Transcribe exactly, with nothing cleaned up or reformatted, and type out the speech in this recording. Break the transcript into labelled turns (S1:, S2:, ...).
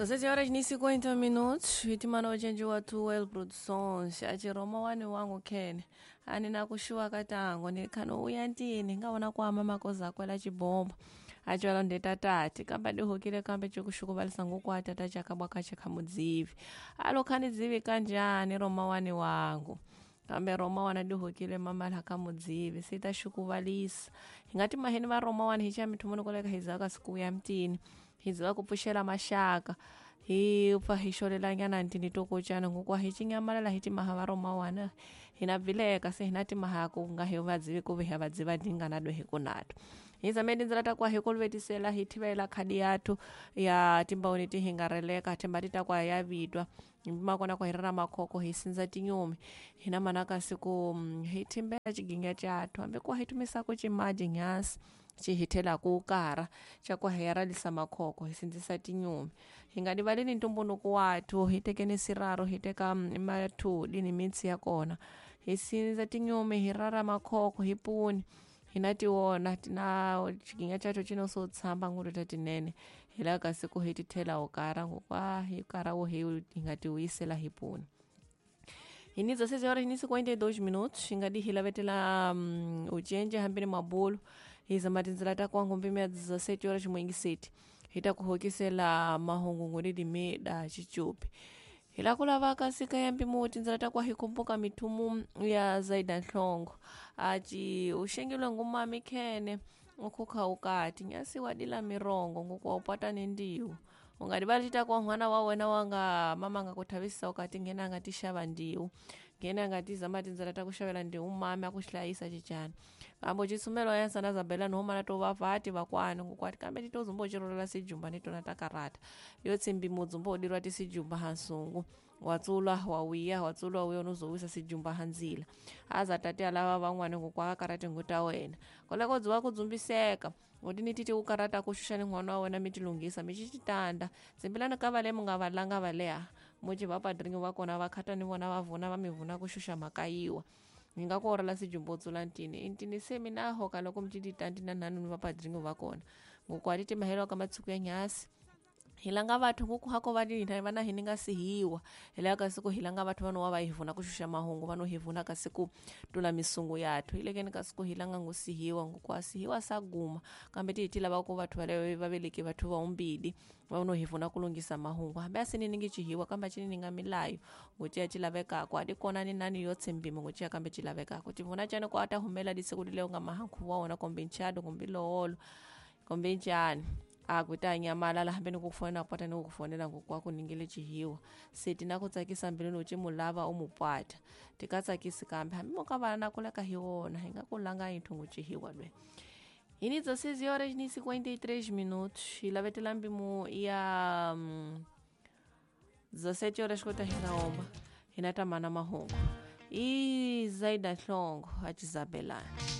S1: Sete horas ni cinquenta minutos hitimana uchenji wa Tuwel Productions achiroma wani wangu Ken ani nakushuwa katango nikhano uya ntini ngawona kwama makoza akwela chibomba achiwala ndetatati kamba dihukile kambe chikushukuvalisa nguku atata chakabwa kache khamudzivi alo khani dzivi kanjani roma wani wangu kambe roma wana dihukile mamala kamudzivi sitaxukuvalisa hingati maheni va roma wani hi mithumu koleka hi zaka siku ya mtini hi ziva ku pfuxela maxaka hi pfa hi xolelanyana ntini to kocana ngokwa hi cinyamalala hi timaha va roma wana hina vileka se hina timaha ku nga hi vadzivi ku vi hi vadziva dingana do hi kunato hi zame tindzela ta kwa hi kolovetisela hi thivela khadi yathu ya timbawoni ti hingareleka themba ti ta kwa ya vitwa makona kwa hi rira makhoko hi sindza tinyumi hina manaka siku hi thimbela xiginga xathu hambi kwa hi tumisako cimaji nyasi xi ku kara xa ku heralisa makhoko hi sindzisa tinyumi hi nga rivaleni ntumbuluko wathu hi tekeni siraro hi teka mathuli ni mitsi ya kona hi sindza tinyumi hi rara makhoko hi puni hina tiwona tina xiginga xacho cino so tshamba ngulu ta tinene hi laha ka siku hi ti thela ukara ngokwa hi kara wo hi hi nga ti vuyisela hi puni hi ni dezesseis horas ni cinquenta e dois minutos hi nga di hi lavetela um, ucenje hambi ni mabulu hi zama tindzela ta kwangu mpimo ya dezessete horas mwingiseti hi ta ku hokisela mahungu ngoni dimeda chichupi hi la ku lava ka sika ya mpimo tindzela ta kwa hi kumbuka mithumu ya Zaida Nhlongo aci uxengilwe ngumami khene ukhukha ukati nyasi wadila mirongo ngokuwa upata ni ndiwu ungadibali tita kwa n'wana wa wena wanga mama nga ku thavisa ukati nghena nga ti xava ndiwu nghena nga ti zama tindzela ta ku xavela ndiwu mami a ku hlayisa cicana kambe citsumelo ya sana zabela no mana to vavati vakwani ngokwati kambe ti to zumbo cirolela sijumba ni tona ta karata yo tsimbi mudzumbo udirwa ti sijumba hansungu watsulwa wawiya watsulwa wiya nozowisa sijumba handzila aza tate alava van'wani ngokwa karati nguta wena koleko dziwa ku dzumbiseka ngoti titi ku karata ku xuxa ni n'wana wa wena mi tilunghisa mi xixitanda tsimbilani ka vale mi nga valanga valeha muci va padringi va kona va khata ni vona va vuna va mi vuna ku xuxa mhaka yiwa ni nga ku orela sijumba u tsula ntini intini se mina hoka loko mi tititandi na nhanu ni va padringi va kona ngokwa ti timahelo ka matshuku ya nyasi hi langa vathu nguku hako va hina vana hi ni nga sihiwa hi laha ka siku hi langa vathu vano wa va hi vuna ku xuxa mahungu vano hi vuna ka siku tula misungu yathu hi lekeni ka siku hi langa ngu sihiwa nguku a sihiwa sa guma kambe ti hi ti lava ku vathu vale va veleki vathu va umbili va no hi vuna ku lunghisa mahungu hambi a sini ni ngi cihiwa kambe a cini ni nga milayo nguti ya ci lavekako a di kona ni nani yo tshembimi nguti ya kambe ci lavekako tivuna cani ku a ta humela disiku leo nga mahankhuvo wa wona kumbe nchado kumbe loholo kumbe njhani akuta nyamalala hambi ni ku fonela pata ni ku fonela ngokwako ningile cihiwa se ti na ku tsakisa mbilwini u ci mu lava u mu pata ti ka tsakisi kambe hambi mo ka vana na kuleka hi wona hi nga ku langa yi nthungu cihiwa lwe hi ni dezesseis horas ni cinquenta e três minutos hi lavetela mpimo ya um, dezessete horas kota hi nga omba hi na ta mana mahungu i Zaida Nhlongo a Cizabelani.